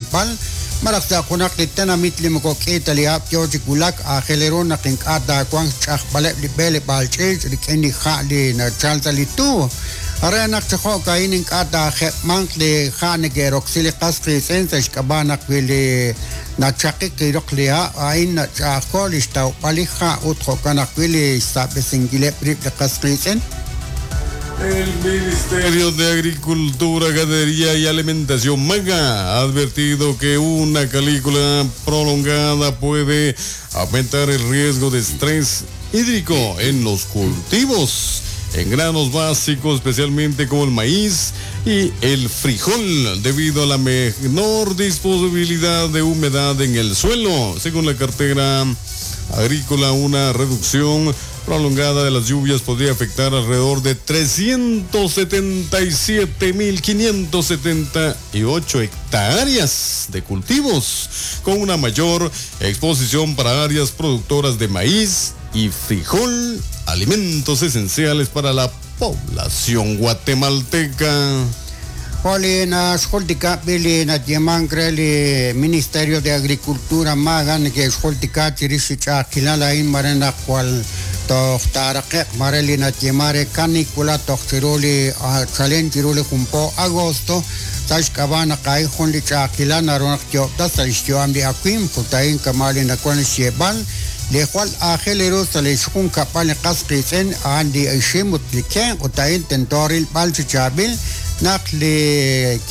rilb'al malaj sa' junaq li tenamit li moko k'i ta li hab' yo chi wulak, aajel ru naq ink'a' taawanq xch'ajb'aleb' li b'eleb'aal ch'iich' rik'in li ha' li nachal sa' li tuub'. Re naq chi jo'ka'in ink'a' taajeb'manq li ha' neke'roksi li qas qiitz'in sa' xk'ab'a' naq wi li nachaqik li roq li ha' a'in nach'a'ajko' li xtawb'al li ha' ut jo'kan ajwi' li xsab'esinkileb' rib' li qas qiitz'in. El Ministerio de Agricultura, Ganadería y Alimentación MAGA ha advertido que una calícula prolongada puede aumentar el riesgo de estrés hídrico en los cultivos, en granos básicos, especialmente como el maíz y el frijol, debido a la menor disponibilidad de humedad en el suelo. Según la cartera agrícola, una reducción prolongada de las lluvias podría afectar alrededor de 377.578 hectáreas de cultivos, con una mayor exposición para áreas productoras de maíz y frijol, alimentos esenciales para la población guatemalteca. Jo' li naxjultika b'i li nayeemank re li Ministerio de Agricultura MAGA neke'xjultika chirix li ch'a'ajkilal a'in mare naq jwal toj taaraqe'q mare li nayeeman re canícula toj chiru li chalen chiru li jun po agosto sa' xk'ab'a' naq a'in jun li ch'a'ajkilal naru naq tyo'ob'tas sa' li xyu'am li awimq ut a'in kama' li nawan xyeeb'al li jwal aajel ru sa' li xjunkab'al li qas qiitz'in a'an li ixim ut li kenq' ut a'in tento rilb'al chi chaab'il naq li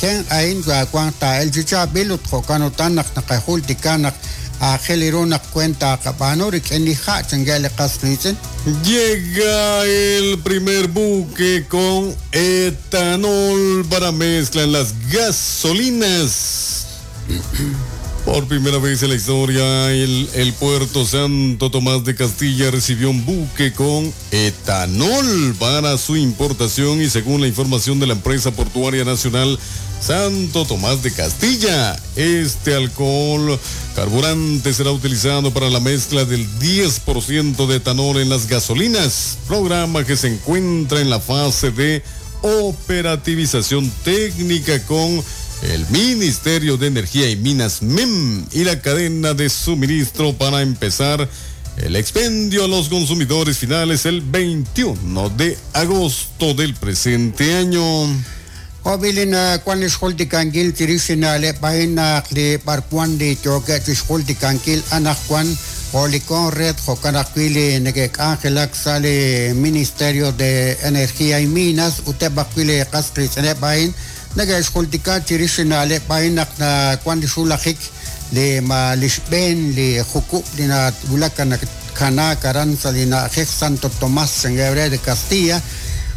kenq' a'in wanq taa'elq chi chaab'il ut jo'kan utan naq naqajultika naq aajel ru naq weent taqab'aanu rik'in li ha' chankeb' li qas qiitz'in. Llega el primer buque con etanol para mezcla en las gasolinas. Por primera vez en la historia, el, el, puerto Santo Tomás de Castilla recibió un buque con etanol para su importación y según la información de la empresa portuaria nacional Santo Tomás de Castilla, este alcohol carburante será utilizado para la mezcla del 10% de etanol en las gasolinas, programa que se encuentra en la fase de operativización técnica con el Ministerio de Energía y Minas MEM y la cadena de suministro para empezar el expendio a los consumidores finales el 21 de agosto del presente año. Jo' b'i li nawan li xjultikankil chirix li na'leb' a'in naq li b'arwan li yookeb' chi xjultikankil anaqwan jo' li Conred jo'kan ajwi' li neke'k'anjelak sa' li Ministerio de Energía y Minas ut eb' ajwi' li qas qiitz'ineb' a'in neke'xjultika chirix li na'leb' a'in naq nawan li xwulajik li ma li xb'een li jukub' li nawulak nakanaak aran sa' li na'ajej Santo Tomás chankeb' re de Castilla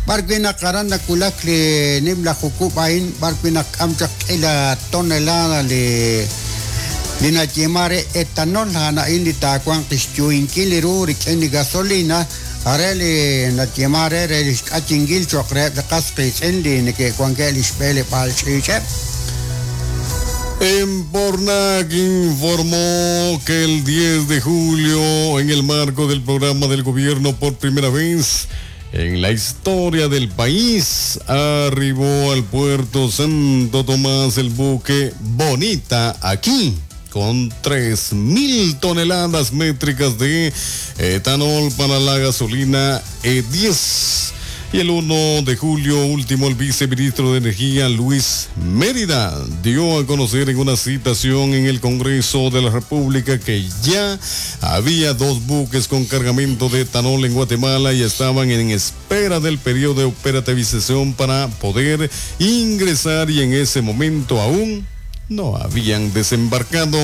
b'arwi' naq aran nawulak li nimla jukub' a'in b'arwi' naq k'am chaq k'ila tonelada li li nayeeman re etanol a'an a'in li taawanq li xyuhinkil ru rik'in li gasolina are li nayeeman re re li xk'ayinkil cho'q reheb' li qas qiitz'in li neke'wankeb' li xb'eleb'aal ch'iich'eb'. Empornac informó que el 10 de julio, en el marco del programa del gobierno por primera vez en la historia del país, arribó al puerto Santo Tomás el buque Bonita aquí con 3.000 toneladas métricas de etanol para la gasolina E10. Y el 1 de julio último, el viceministro de Energía, Luis Mérida, dio a conocer en una citación en el Congreso de la República que ya había dos buques con cargamento de etanol en Guatemala y estaban en espera del periodo de operativización para poder ingresar y en ese momento aún no habían desembarcado.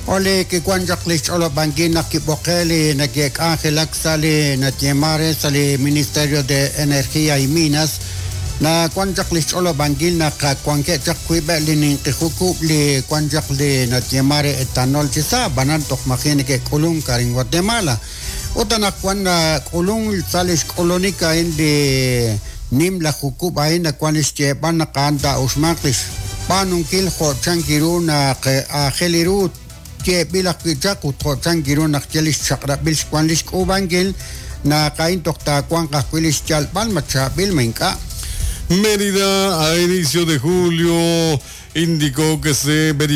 Jo' li kiwan chaq li xch'olob'ankil naq kib'oqe' li neke'k'anjelak sa' li nayeeman re sa' li Ministerio de Energía y Minas nawan chaq li xch'olob'ankil naq wankeb' chaq wiib'eb' li ninqi jukub' li wan chaq li nayeeman re etanol chi sa' ab'anan toj maji' neke'k'ulunk arin Guatemala ut anaqwan nak'ulunk sa' li xk'ulunik a'in li nimla jukub' a'in nawan li xyeeb'al naq a'an taa'uxmanq li xb'aanunkil jo' chank ru naq aajel ru yeeb'il ajwi' chaq ut jo' chank ru naq ye li xchaq'rab'il xwan li xk'uub'ankil naq a'in toj taawanq ajwi' li xyalb'al ma chaab'il ma ink'a'. Mérida a inicio de julio indicó que se verificó